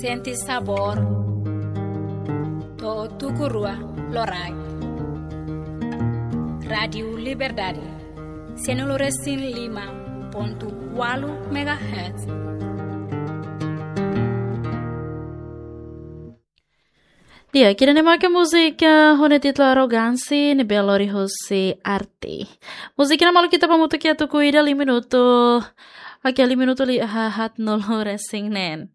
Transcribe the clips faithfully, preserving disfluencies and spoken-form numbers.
Sente sabór. To'o tuku rua loraik. Rádiu Liberdade. Sanulu resin lima pontu ualu megahertz. Di'ak, ida-ne'e maka múzika ho nia títulu Arrogansi, ne'ebé lori husi Arti. Múzika ne'e maluk ita ba hamutuk iha tuku ida, lima minutu. Oke, lima minutu liu haat-nulu resin neen.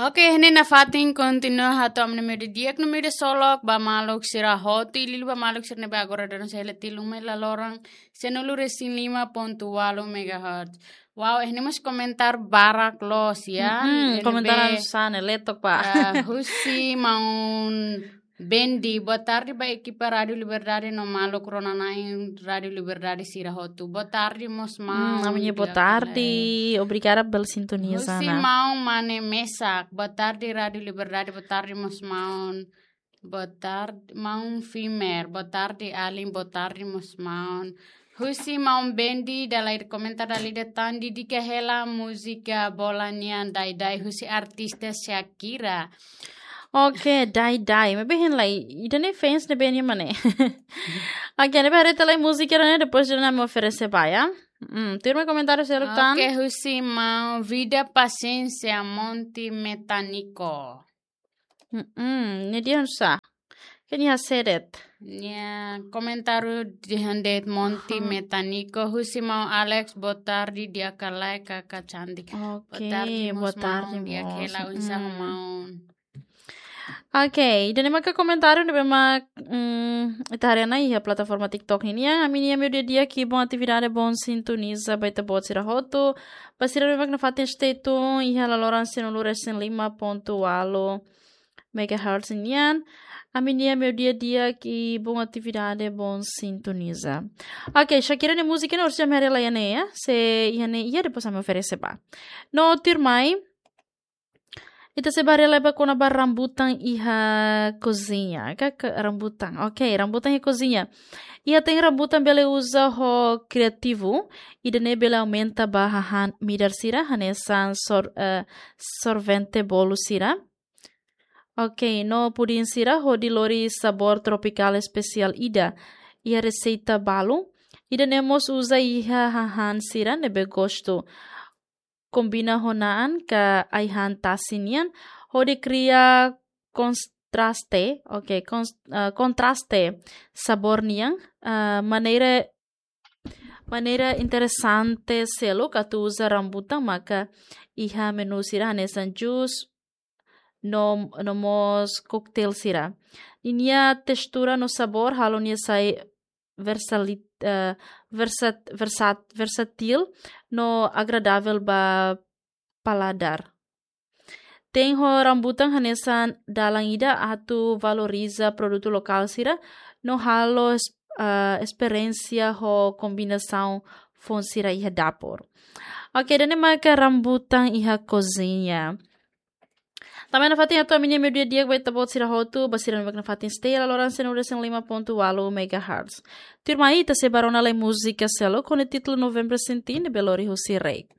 Oke, ne'e nafatin kontinua hato'o ami-nia media di'ak no media solok ba maluk sira hotu, liuliu ba maluk sira ne'ebé agora daudaun sei hela tiha uma iha laloran sanulu resin lima pontu ualu megahertz. Wow, ne'e mós komentáriu barak loos ya. Mm-mm, ne'ebé komentáriu sane, letok ba. Ah, husi maun Bendi, boa tarde ba ekipa Rádiu Liberdade no maluk rona-na'in Rádiu Liberdade sira hotu. Boa tarde, mós maun. Hmm, ami-nia boa tarde. Obrigada pela sintonia, husi maun Mane Mesak. Boa tarde, Rádiu Liberdade. Boa tarde, mós maun. Boa tarde, maun Fimer. Boa tarde, alin. Boa tarde, mós maun. Husi maun Bendi, dala ida komentáriu dala ida tan, dedika hela múzika Bola nian Dai Dai husi artista Shakira. Oke, Dai Dai. Maibé hein lai, ida-ne'e fans ne'ebé nia mak ne'e. Oke, ne'ebé haree tiha lai múzika ne'e, depois ida-ne'e ami oferese ba ya. Hmm, tuirmai komentáriu seluk tan. Oke, husi maun Vida Paciência Monte Metanico. Mm-mm, ne'e dehan sá? Kan nia hase'e de'it. Nia komentáriu dehan de'it Monte Metanico, husi maun Alex, boa tarde, di'ak ka lae, kaka cantik. Oke, boa tarde, mós boa tarde, maun, di'ak mós. Hela, oinsá ho maun. Oke, ida-ne'e maka komentáriu ne'ebé mak, mm, ita haree ona iha plataforma TikTok ninian, ami-nia meiudia di'ak, bom atividade, bom sintoniza ba ita-boot sira hotu. Ba sira ne'ebé mak nafatin stay tune iha laloran sanulu resin lima pontu ualu megahertz nian. Ami-nia meiudia di'ak, bom atividade, bom sintoniza. Oke, Shakira nia múzika ne'e orsida ami haree lai iha ne'e ya. Se iha ne'e iha, depois ami oferese ba. No tuirmai, ita sei bá haree lai ba kona-ba rambutan iha koziña. Ka, ka rambutan. Oke, rambutan iha koziña. Iha te'in rambutan bele uza ho kriativu, ida-ne'e bele aumenta ba hahán midar sira, hanesan sor-, eh, sorvente bolu sira. Oke, no pudin sira hodi lori sabór tropikál espesiál ida iha reseita balu. Ida-ne'e mós uza iha hahán sira ne'ebé gostu. Kombina ho na'an ka ai-han tasi nian, hodi kria kontraste, oke, kons-, eh, kontraste sabór nian, eh, maneira, maneira interesante seluk atu uza rambutan maka iha menu sira hanesan jus, no, no mós koktel sira. Ninia testura no sabór halo nia sai versali-, eh, versat-, versat-, versátil no agradável ba paladar. Te'in ho rambutan hanesan dalan ida atu valoriza produtu lokál sira no halo es-, eh, esperiénsia ho kombinasaun foun sira iha dapur. Oke, ida-ne'e maka rambutan iha koziña. Tanba ne'e nafatin hato'o ami-nia meiudia di'ak ba ita-boot sira hotu, ba sira ne'ebé mak nafatin stay iha laloran sanulu resin lima pontu ualu megahertz. Tuirmai ita sei bá rona lai múzika seluk ho nia títulu Novembro Senti, ne'ebé lori husi Reik.